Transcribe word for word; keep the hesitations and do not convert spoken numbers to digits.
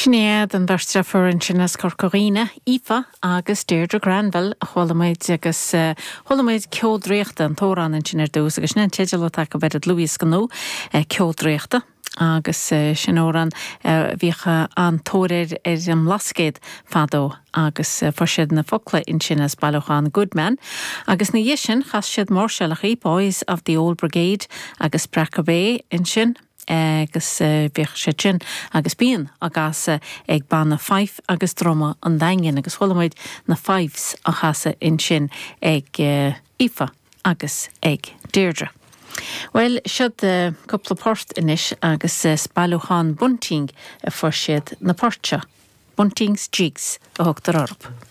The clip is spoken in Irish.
Sin iad an bheirt deirfiúr ansin as Corca Dhuibhne, Aoife agus Deirdre Granville a chuala muid agus uh, chuala muid Ceol Draíochta an t-amhrán ansin ar dtús agus sin an teideal atá acu ar an dlúthdhiosca nua uh, Ceol Draíochta. agus uh, sin amhrán uh, bhíodh an-tóir air ar an mBlascaod fadó agus uh, fuair siad na focla ansin as bailiúchán Goodman. Agus ina dhiaidh sin chas siad máirseálacha Boys of the Old Brigade agus Breaca Bay ansin agus bhíodh sé sin agus bíonn á gcasadh ag banna Fife agus Druma an Daingin agus chuala muid na Fifes á chasadh ansin ag Aoife agus ag Deirdre. Well siod uh, cúpla port anois agus uh, bailiúchán Bunting a fuair siad na poirt seo. Bunting's Jigs a thugtar orthu.